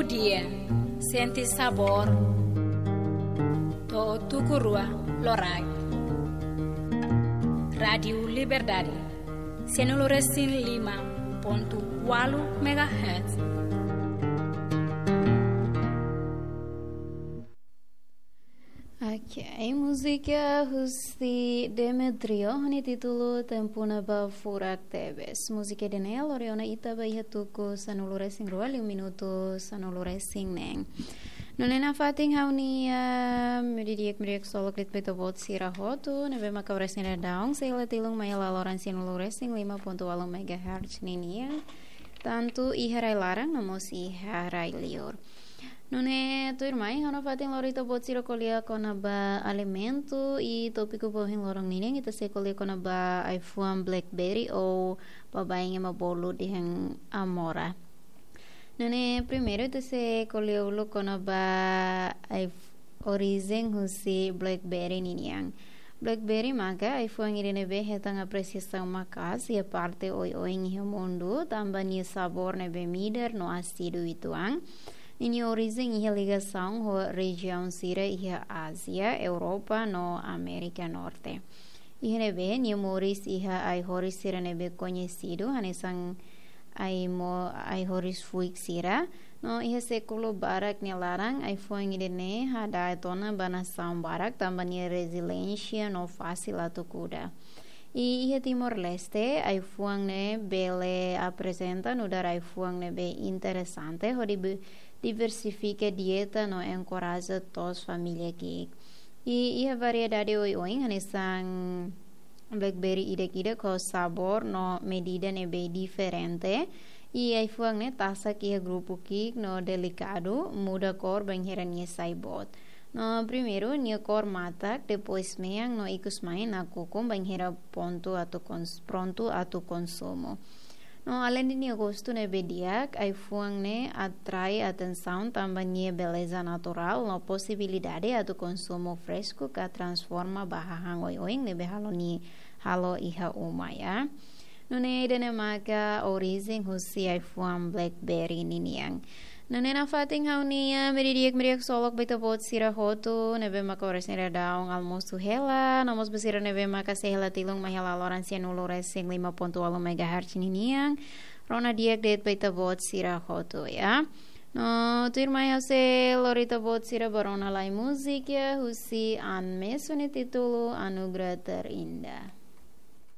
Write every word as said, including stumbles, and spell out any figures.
Dia, sente sabór. To'o tuku rua loraik. Rádiu Liberdade, sianulu resin lima pontu ualu megahertz. Ok, múzika husi Demetrio, ho nia títulu Tempu Ne'ebé Furak Tebes. Múzika ida-ne'e lori ona ita ba iha tuku sanulu resin rua liu minutu sanulu resin neen. Nune'e nafatin ha'u-nia, ah, meiudia di'ak, meiudia di'ak ksolok de'it ba ita-boot sira hotu, ne'ebé maka oras ne'e daudaun sei hela tilun mai hela loron sianulu resin lima pontu ualu megahertz ninian, tantu iha rai laran no mós iha rai liur. Nune'e tuirmai, ha'u nafatin lori ita-boot sira ko'alia kona-ba alimentu, i tópiku ba ohin loron ninian ita sei ko'alia kona-ba ai-fuan blackberry ou baibain ema bolu dehan amora. Nune'e primeiru ita sei ko'alia uluk kona-ba ai-, orijen husi blackberry ninian. Blackberry maka ai-fuan ida ne'ebé hetan apresiasaun maka'as iha parte oioin iha mundu, tanba nia sabór ne'ebé midar no asidu uitoan. Ninia orijen iha ligasaun ho rejiaun sira iha Ázia, Europa no Amérika Norte. Iha ne'ebé nia moris iha ai-horis sira ne'ebé koñesidu, hanesan ai mo-, ai-horis fuik sira. No iha sékulu barak nia laran, ai-fuan ida-ne'e hada'et ona ba nasaun barak, tanba nia reziliénsia no fasil atu kuda. I iha Timor-Leste, ai-fuan ne'e bele aprezenta nu'udar ai-fuan ne'ebé interesante, hodi be-, diversifika dieta no enkoraja to'os família ki'ik. I iha variedade oioin, hanesan blackberry ida-idak ho sabór no medida ne'ebé diferente. I ai-fuan ne'e tasak iha grupu ki'ik no delikadu, muda kór bainhira nia sai boot. No primeiru, nia kór matak, depois mean no ikus mai nakukun bainhira pontu atu kons-, prontu atu konsumu. No aleinde nia gostu ne'ebé di'ak, ai-fuan ne'e atrai atensaun tanba nia beleza naturál no posibilidade atu konsumu fresku ka transforma ba hahán oioin ne'ebé halo ni-, halo iha uma, ya. Nune'e ida-ne'e maka orijen husi ai-fuan blackberry ninian. Nune'e nafatin ha'u-nia, ah, meiudia di'ak, meiudia di'ak ksolok ba ita-boot sira hotu, ne'ebé maka oras ne'e daudaun almosu hela, no mós ba sira ne'ebé maka sei hela tilun mai hela loron sianulu resin lima pontu ualu megahertz ninian, rona di'ak de'it ba ita-boot sira hotu, ya. No tuirmai ha'u sei lori ita-boot sira ba rona lai múzika, husi Anmes ho nia títulu Anugerah Terindah.